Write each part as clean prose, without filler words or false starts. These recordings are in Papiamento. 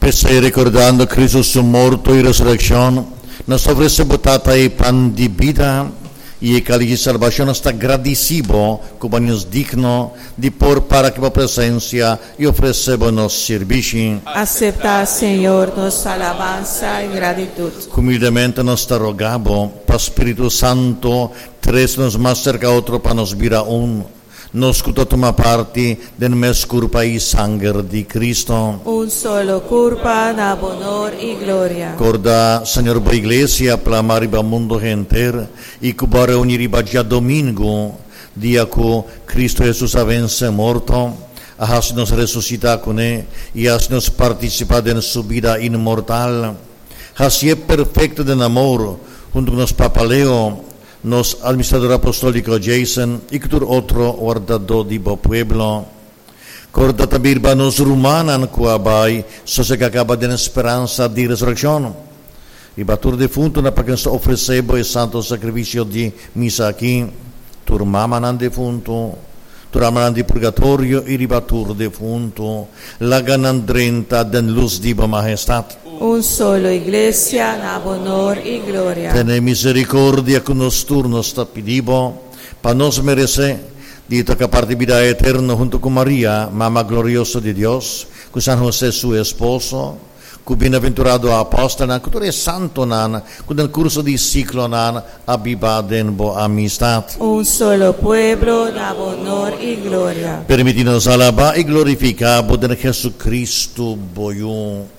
P'esei, rekordando Kristu su morto i resurekshon, nos ta ofresé bo Tata e pan di bida i e kalis di salbashon. Nos ta gradisí bo ku bo nos digno di por para ku bo presensia i ofresé bo nos sirbishi. Aseptá, Señor, nos alabansa i gratitut. Humildemente nos ta rogá bo pa Spiritu Santu trese nos mas serka otro pa nos bira un. Nos ku ta tuma parti den mes kurpa i sanger di Kristu. Un solo kurpa na bo honor i gloria. Korda, Señor, bo Iglesia plama riba mundu henter i ku bo a reuní riba djadomingu, dia ku Kristu Hesus a vense morto, a hasi nos resusitá kuné i hasi nos partisipá den su bida inmortal. Hasié perfekto den amor, huntu ku nos Papa Leo, Nos Administrador Apostóliko Jason i ku tur otro wardadó di bo pueblo. Korda ta birba nos rumannan ku a bai sosegá kaba den speransa di resurekshon. Riba tur defuntunan pa ken nos ta ofresé bo e santo sakrifisio di misa aki, tur mamanan defuntu, tur almanan di purgatorio i riba tur defuntu, laga nan drenta den lus di bo mahestat. Un solo Iglesia na bo honor i gloria. Tene misericordia cu nos tur, nos ta pidi bo, pa nos merece di toca parti bida eterno hunto cu Maria, Mama glorioso di Dios, cu San Jose su esposo, cu bienaventurado apostelnan, cu tur e santonan cu den curso di siglonan a biba den bo amistad. Un solo pueblo na bo honor i gloria. Permiti nos alaba i glorifica bo den Jesucristo bo Yu.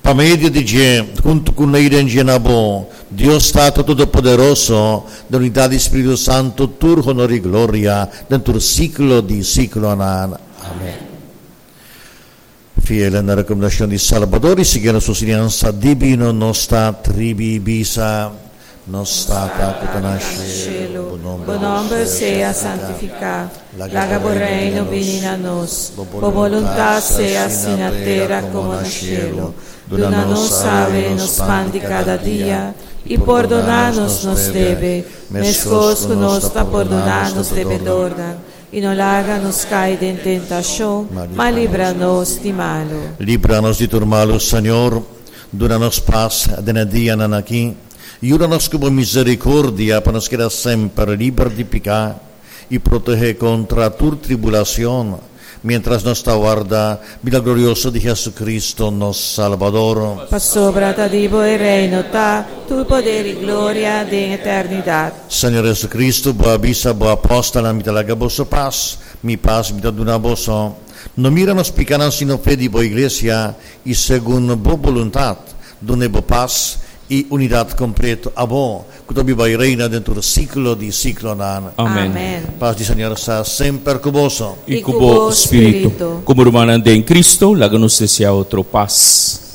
Pa medio di dje, huntu ku nei den dje na bo, Dios Tata Todopoderoso, den unidat di Spiritu Santu, tur honor i gloria den tur siklo di siklonan. Amen. Fiel na rekomendashon di Salbador i siguiendo su siñansa dibino, nos ta tribi bisa, Nos Tata ku ta na shelu, Bo nòmber sea santifiká. Laga bo Reino bini na nos. Bo boluntat sea hasi na tera komo na shelu. Duna nos awe nos pan di kada dia, i pordoná nos nos debe, meskos ku nos ta pordoná nos debedornan. I no laga nos kai den tentashon, ma libra nos di malu. Libra nos di tur malu, Señor. Duna nos pas den e dianan aki. Yuda nos ku bo misericordia pa nos keda semper liber di piká i protehé kontra tur tribulacion, mientras nos ta warda bida glorioso di Jesucristo, nos Salbador. Pasobra ta di bo e reino ta, tur poder i gloria den eternidat. Señor Jesucristo, bo a bisa bo apòstelnan, Mi ta laga boso pas, mi pas mi ta duna boso. No mira nos pikánan sino fe di bo iglesia, i segun bo boluntat, dun'é bo pas i unidat kompleto, abo ku ta biba i reina den tur siklo di siklonan. Amen. Pas di Señor sa semper ku boso. I ku bo spiritu. Komo rumannan den Cristo, laga nos deseá otro pas.